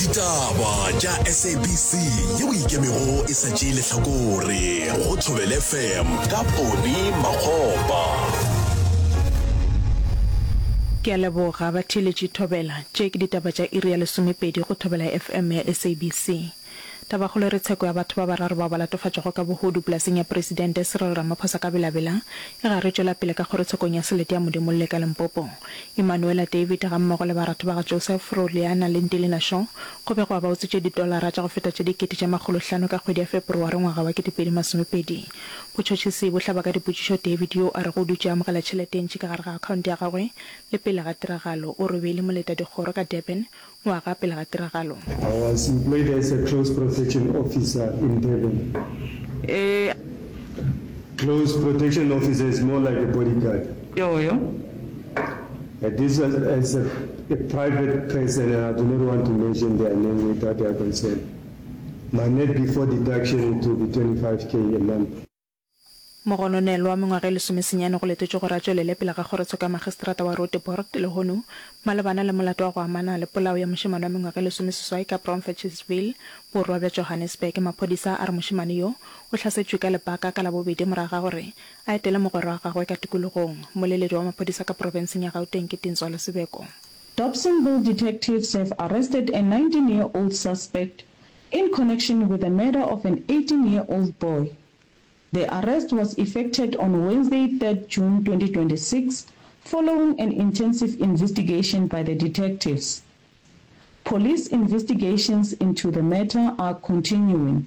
Ditaba tša SABC yeo e ikemego e sa tšee lehlakore go Thobela FM ka Poni Makgopa. Ke a leboga batheeletši Thobela. Tše ke ditaba tša iri ya lesomepedi go Thobela FM ya SABC. Tabakgolo e re tsheko ya batho ba bararo bao ba latofatšwago ka bohodu polaseng ya Presidente Cyril Ramaphosa ka Bela-Bela e gare e tšwela pele ka kgorotshekong ya selete ya Modimolle ka Limpopo. Emanuela David gammogo le baratho ba ga Joseph, Roliana le Ntilina Shaw go begwa ba utswitše ditolara tša go feta tše dikete tše makgolohlano ka kgwedi ya Feberware ngwaga wa 2020. Botšhotšhisi bo hlaba ka dipotšišo David yoo a rego o dutše a amogela tšhelete e ntši ka gare ga akhaonte ya gagwe le pele ga tiragalo. O re o be e le moletadikgoro ka Durban ngwaga pele ga tiragalo. I was employed as a close protection officer in Durban. E. Close protection officer is more like a bodyguard. Yoyo. This was as a, a private person and I do not want to mention their name without their consent. My net before deduction it will be 25k a month. Mogononelwa wa mengwaga e lesomesenyane go letetšwe gore a tšwelele pele ga kgorotsheko ya magistrata wa Roodepoort lehono malebana le molato wa go amana le polao ya mošemane wa mengwaga e lesomeseswai ka Bromfetchesville, borwa bja Johannesburg. Maphodisa a re mošemane yo o hlasetšwe ka lebaka ka Labobedi morago ga gore a etele mogwera wa gagwe ka tikologong. Mmoleledi wa maphodisa ka profenseng ya Gauteng ke Tintswalo Sibeko. Dobsonville detectives have arrested a 19-year-old suspect in connection with the murder of an 18-year-old boy. The arrest was effected on Wednesday, 3rd June 2026, following an intensive investigation by the detectives. Police investigations into the matter are continuing.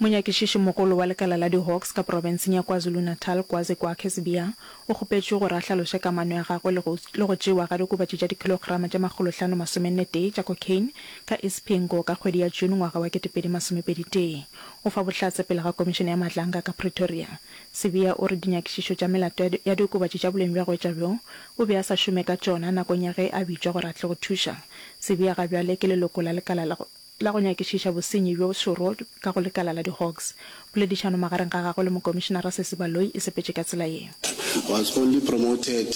Monyakišišimogolo wa lekala la di-Hawks ka profenseng ya KwaZulu-Natal, Kwazi Kwakhe Sibiya, o kgopetšwe gore a hlaloše kamano ya gagwe le go le go tšewa ga diokobatši tša dikhilograma tše makgolohlano masomennetee tša cocaine ka Isipingo ka kgwedi ya June ngwaga wa 2021. O fa bohlatse pele ga Komišene ya Madlanga ka Pretoria. Sibiya o re dinyakišišo tša melato ya ya diokobatši tša boleng bja go etša bjo o be a sa šome ka tšona nakong ya ge a bitšwa gore a tle go thuša. Sibiya ga bjale ke leloko la lekala la go la go nyakišiša bosenyi bjo šoro ka go lekala la di-Hawks. Poledišano magareng ga gagwe le Mokomišenara Sesi Baloyi e sepetše ka tsela ye. Was only promoted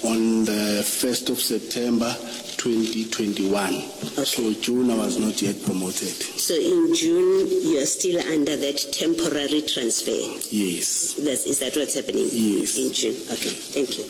on the first of September 2021. So June I was not yet promoted. So in June you are still under that temporary transfer? Yes. That's, is that what's happening? Yes. In June, okay, thank you.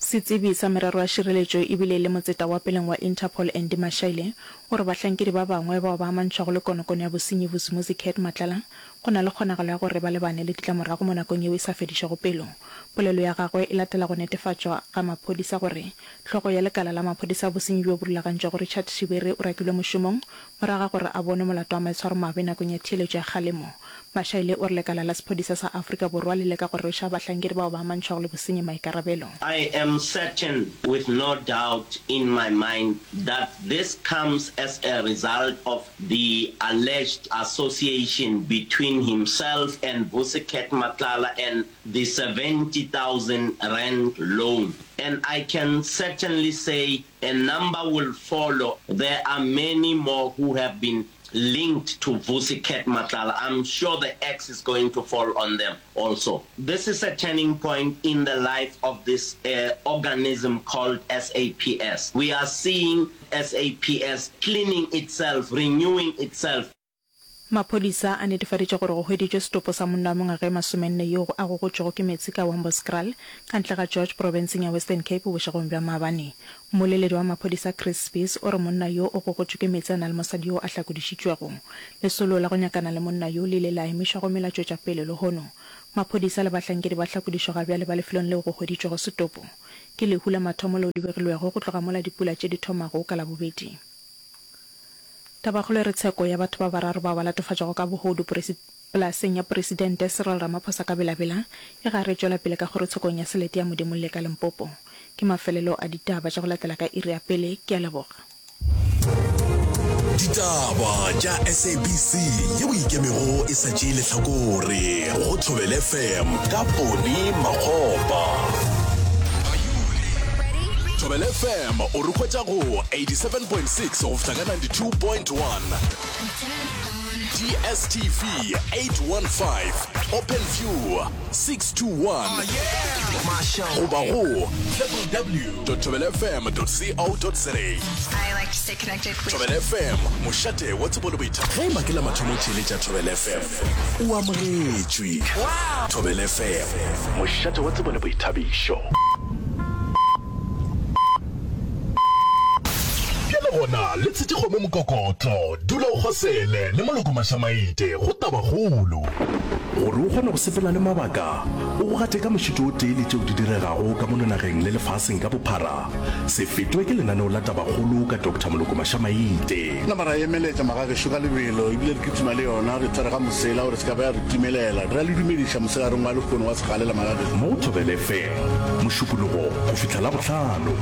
Setsebi sa merero ya šireletšo e bile e le motseta wa peleng wa Interpol Andy Mashaile o re bahlankedi ba bangwe bao ba amantšhwago le konokono ya bosenyi Vusimuzi Cat Matlala go na le kgonagalo ya gore ba lebane le ditlamorago mo nakong yeo e sa fedišego pelo. Polelo ya gagwe e latela go netefatšwa ga maphodisa gore hlogo ya lekala la maphodisa a bosenyi bjo bo rulagantšwego Richard Shibiri o rakilwe mošomong morago ga gore a bonwe molato wa maitshwaromabe nakong ya theeletšo ya kgalemo. Mashaile o re lekala la sephodisa sa Afrika Borwa le leka go rweša bahlankedi bao ba amantšhwago le bosenyi maikarabelo. I am certain with no doubt in my mind that this comes as a result of the alleged association between himself and Vusi Cat Matlala and the 70,000 rand loan. And I can certainly say a number will follow. There are many more who have been linked to Vusi Cat Matlala. I'm sure the axe is going to fall on them also. This is a turning point in the life of this uh, organism called SAPS. We are seeing SAPS cleaning itself, renewing itself. Maphodisa a netefaditše gore go hweditšwe setopo sa monna wa mengwaga e masomenne yoo a gogotšwego ke meetse ka Wamborskraal ka ntle ga George profenseng ya Western Cape bošegong bja maabane. Mmoleledi wa maphodisa Chris Spies o re monna yo o gogotšwe ke meetse a na le mosadi yoo a hlakodišitšwego. Lesolo la go nyakana le monna yo le ile la emišwa gomme la tšwetša pele lehono. Maphodisa le bahlankedi ba hlakodišo ga bjale ba lefelong leo go hweditšwego setopo. Ke lehu la mathomo leo le begilwego go tloga mola dipula tše di thomago ka Labobedi. Tabakgolo e re tsheko ya batho ba bararo bao ba latofatšwago ka bohodu polaseng ya Poresidente Cyril Ramaphosa ka Bela-Bela e gare e tšwela pele ka kgorotshekong ya selete ya Modimolle ka Limpopo. Ke mafelelo a ditaba tša go latela ka iri ya pele. Ke a leboga. Ditaba tša SABC yeo e ikemego e sa tšee lehlakore go Thobela FM ka Poni Makgopa. Thobela FM o re hwetša go 87.6 go fihla ka 92.1. DSTV 815, Openview 621 goba go www.thobelafm.co.za. Thobela FM, mošate wa tsebo le boithabišo. Ge eba ke la mathomo o theeletša Thobela FM, o amogetšwe. Thobela FM, mošate wa tsebo le boithabišo. Bjale gona le tshetše kgomo mokokotlo, dula o kgosele le moloko mašamaite go tabakgolo. Gore o kgone go sepela le mabaka, o go gate ka mošito o tee le tšeo di diregago ka mono nageng le lefaseng ka bophara, se fetwe ke lenaneo la Tabakgolo ka Doctor Moloko Mašamaite. Nama ra emeletša magagešo ka lebelo ebile re kitima le yona, re tshwere ga mosela gore se ka ba ya re timelela. Re a le dumediša mosegareng wa lehono wa segalela magagešo. Mo go Thobela FM, Mošupologo go fihla Labohlano.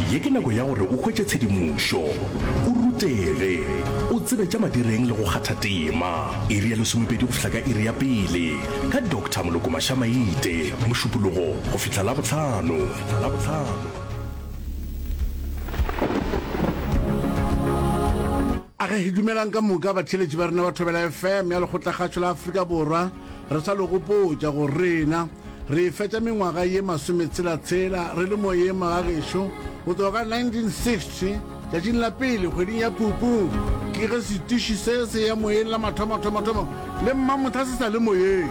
Ye ke nako ya gore o hwetše tshedimošo, o rutege, o tsebe tša madireng le go kgatha tema. Iri ya lesomepedi go fihla ka iri ya pele ka Doctor Moloko Mašamaite, Mošupologo go fihla Labohlano. Age, dumelang ka moka batheeletši ba rena ba Thobela FM ya Lekgotlakgašo la Afrika Borwa. Re sa le gopotša gore rena re fetša mengwaga ye masometshela-tshela re le moyeng magagešo go tloga ka 1960 tšatšing la pele kgweding ya Phupu ke ge setiši se se ya moyeng la mathomo-thomo-thomo le mmamotha se sa le moyeng.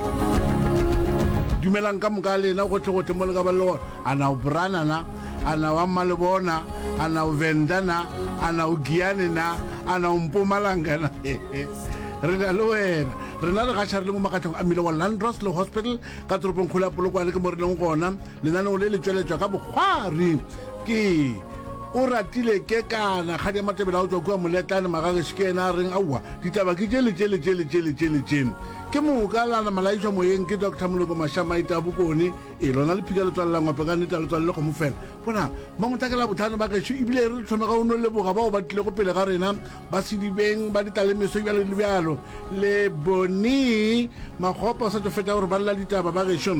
Dumelang ka moka lena gohle-gohle mo le ka ba le gona. A na o Brana na? A na o Mmalebona? A na o Venda na? A na o Giyani na? A na o Mpumalanga na? Re na le wena. Rena re gaša re le mo makatlong a mmila wa Landros le Hospital ka toropongkgolo ya Polokwane ke mo re leng gona. Lenaneo le le tšweletšwa ka bokgwari ke o ratile ke kana kgadi ya matebele a o tšwa kua moletlane magageši ke yena a reng aowa ditaba ke tše le tše le tše le tše le tše le tše ke moka la nama la išwa moyeng ke Doctor Moloko Mašamaita Bokone e lona lephika le tswalela ngope ka nnete a le tswalele kgomo fela bona mangotla ke labotlhano ba gešo ebile re thome ga o no leboga bao ba tlilego pele ga rena ba sedibeng ba ditlalemeso bjalo le bjalo le bone makgopa o sa tšo fetša gore ba lela ditaba ba gešo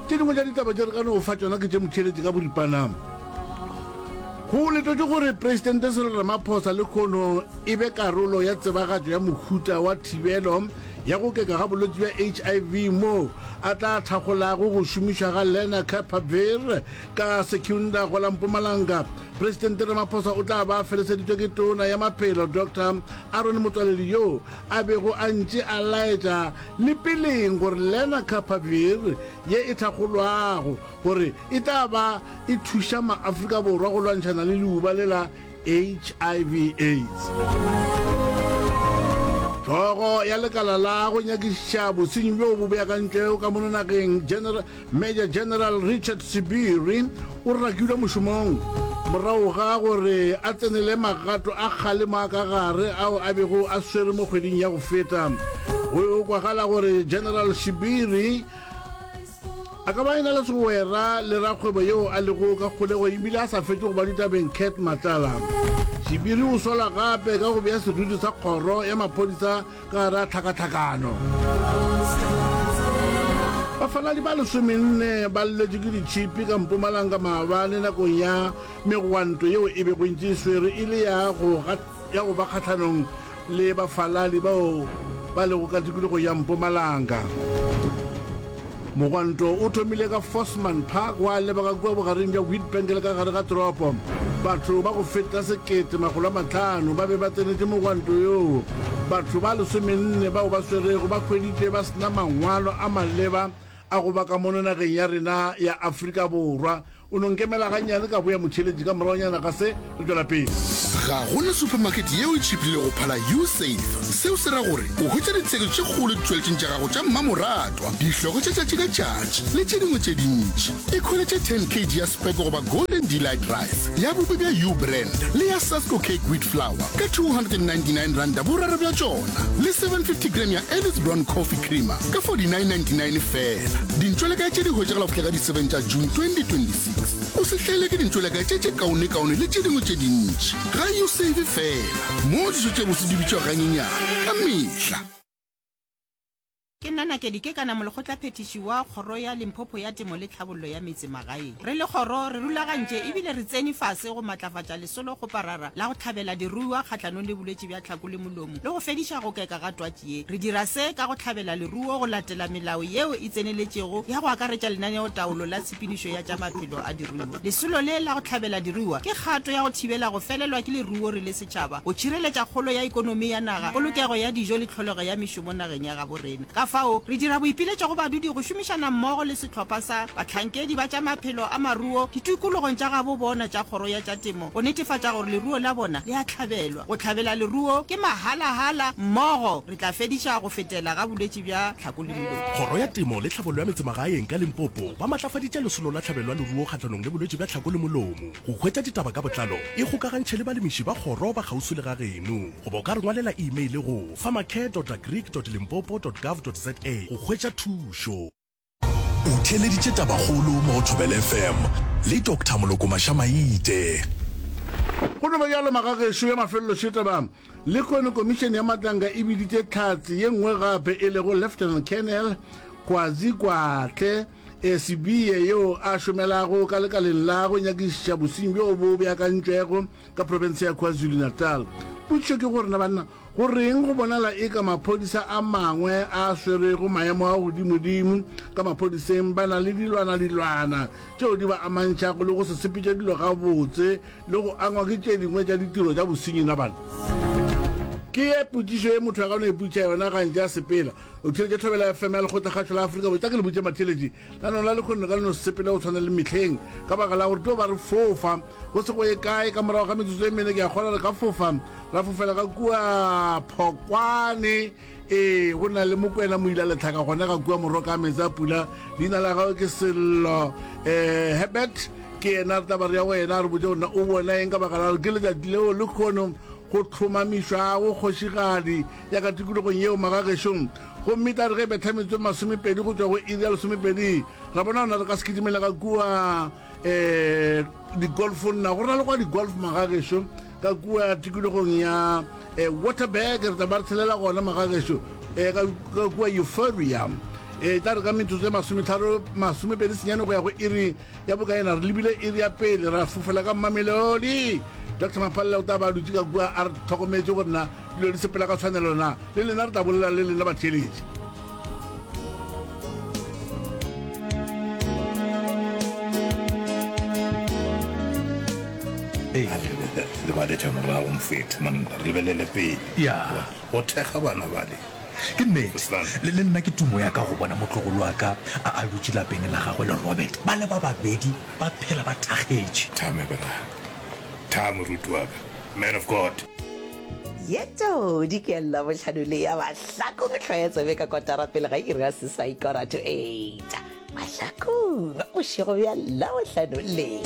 tše dingwe tša ditaba tše re ka no fa tšona ke tše motheeletše ka boripana go letotše gore presidente Cyril Ramaphosa le kgono e be karolo ya tsebagatšo ya mohuta wa thibelo ya go keka ga bolwetši bja HIV moo a tla thakgolago go šomišwa ga Lenacapavir ka Secunda go la Mpumalanga. Presidente Ramaphosa o tla ba a feleseditšwe ke Tona ya Maphelo Doctor Aaron Motsoaledi yoo a bego a ntše a laetša le peleng gore Lenacapavir ye e thakgolwago gore e tla ba e thuša maAfrika Borwa go lwantšhana le leuba le la HIV AIDS. Hlogo ya lekala la go nyakišiša bosenyi bjo bo beakantšwego ka mono nageng General, Major General Richard Sibiri o rakilwe mošomong morago ga gore a tsenele magato a kgalemo a ka gare ao a bego a swere mo kgweding ya go feta. Go kwagala gore General Sibiri A ka ba a e-na le segwera le rakgwebo yeo a lego ka kgolegong e bile a sa fetše go ba ditabeng Cat Matlala. Shibiri o sola gape ka go bea seriti sa kgoro ya maphodisa ka gare a tlhakatlhakano. Bafaladi ba lesomenne ba lletšwe ke ditšhipi ka Mpumalanga maabane nakong ya megwanto yeo e bego e ntše e swere e le ya go ya go ba kgahlanong le bafaladi bao ba lego ka tikologong ya Mpumalanga. Mogwanto o thomile ka Forsman Park wa leba ka kua bogareng bja Witbank le ka gare ga toropo. Batho ba go feta 1500 ba be ba tsenetše mogwanto yoo. Batho ba lesomenne bao ba swerego ba hweditšwe ba se na mangwalo a maleba a go ba ka mono nageng ya rena ya Afrika Borwa. O no nkemela gannyane ka boya motheeletši ka moragonyana ga se re tšwela pele. Ga go na supermarket yeo e tšhiphilego go phala Usave. Seo se ra gore o hwetša ditheko tše kgolo ditšweletšing tša gago tša mmamoratwa, dihlogo tša tšatši ka tšatši le tše dingwe tše dintši. Ikhweletše 10 kg ya Speke goba Golden Delight Rice ya bupi bja U-Brand le ya Sasko Cake Wheat Flour ka R299 boraro bja tšona le 750 gram ya Early's Brown Coffee Creamer ka 49.99 feela. Dintšwelekae tše di hwetšagala go fihla ka di 7 tša June 2026. O se hlaelwe ke dintšwelekae tše tše kaonekaone le tše dingwe tše dintši. Ga Usave feela, moo dijo tše bose di bitšwago ganyenyane ka mehla. Ke nna Nakedi Kekana, Molekgotlaphethiši wa Kgoro ya Limpopo ya Temo le Tlhabollo ya Metsemagaeng. Re le kgoro, re rulagantše ebile re tsene fase go matlafatša lesolokgoparara la go hlabela diruiwa kgahlanong le bolwetši bja tlhako le molomo le go fediša go keka ga twatši ye. Re dira se ka go hlabela leruo go latela melao yeo e tseneletšego ya go akaretša lenaneotaolo la tshepedišo ya tša maphelo a diruiwa. Lesolo le la go hlabela diruiwa ke kgato ya go thibela go felelwa ke leruo re le setšhaba, go tšhireletša kgolo ya ekonomi ya naga, polokego ya dijo le tlholego ya mešomo nageng ya gabo rena. Ka fao, re dira boipiletšo go badudi go šomišana mmogo le sehlopha sa bahlankedi ba tša maphelo a maruo ditikologong tša gabo bona tša Kgoro ya tša Temo go netefatša gore leruo la bona le a hlabelwa. Go hlabela leruo ke mahalahala, mmogo re tla fediša go fetela ga bolwetši bja tlhako le molomo. Kgoro ya Temo le Tlhabollo ya Metsemagaeng ka Limpopo ba matlafaditše lesolo la tlhabelo ya leruo kgahlanong le bolwetši bja tlhako le molomo. Go hwetša ditaba ka botlalo, ikgokagantšhe le balemiši ba kgoro ba kgauswi le ga geno goba o ka re ngwalela e-mail go farmercare.agric.limpopo.gov.za go hwetša thušo. O theeleditše Tabakgolo mo go Thobela FM le Doctor Moloko Mašamaite. Go no ba bjalo magagešo ya mafelelo šetaba. Lehono Komišene ya Matlanka e biditše hlatse ye nngwe gape e lego Lieutenant Colonel Kwazi Kwatle Sibiye yo a šomelago ka lekaleng la go nyakišiša bosenyi bjo bo beakantšwego ka profense ya KwaZulu-Natal. Potšišo ke gore na banna go reng go bonala eka maphodisa a mangwe a swerego maemo a godimodimo ka maphodiseng ba na le dilwana-dilwana tšeo di ba amantšhago le go se sepetše dilo gabotse le go angwa ke tše dingwe tša ditiro tša bosenyi na banna? Ke ye potšišo ye motho a ka no ipotšiša yona gantši a sepela. O theeletše Thobela FM ya Lekgotlakgašo la Afrika Borwa. Tla ke le botše matheeletši, lanong la lekgono le ka no se sepele go tshwana le mehleng ka baka la gore tlo ba re fofa go se go ye kae. Ka morago ga metsotso e mene ke a kgolwa re ka fofa ra fofela ka kua Phokwane. Ee, go na le Mokwena Moila Letlhaka gona ga kua Moroka a meetse a pula. Leina la gagwe ke Sello eh, Herbert. Ke yena re tla ba re ya go yena a re botše gore na o bona eng ka baka la gore ke letšatši leo lekgono go hlomamišwago kgošigadi ya ka tikologong yeo magagešong. Gomme tla re ge betha metsotso e masomepedi go tšwa go iri ya lesomepedi, ra bona gona re ka se kitimele ka kua um digolfong. Na go na le kwa digolf magagešo ka kua tikologong ya um Waterberg? Re tla ba re tshelela gona magagešo um ka kua Euphoria. E tla re ka metsotso e masometharo masomepedi senyane go ya go iri ya bokaena re lebile iri ya pele ra fofela ka Mamelodi. Doctor Maphalela o tla ba a dutše ka kua a re tlhokometše gore na Dilo di sepela ka tshwanelo na? Le lena re tla bolela le lena batheeletši. Lebaletša morago mfethu man, re lebelele pele. Ya. Go thekga bana bale. Ke nnete. Le, le nna ke tumo ya ka go bona motlogolo wa ka a, a dutše lapeng la gagwe le Robert, ba le ba babedi ba phela ba thakgetše. Tha me bra. Tha moruti wa ka. Man of God. Ye todi ke Labohlano le ya Mahlakong hloya tsebe ka kotara pele ga iri ya seswai kora to eight. Mahlakong bošego bja Labohlano le.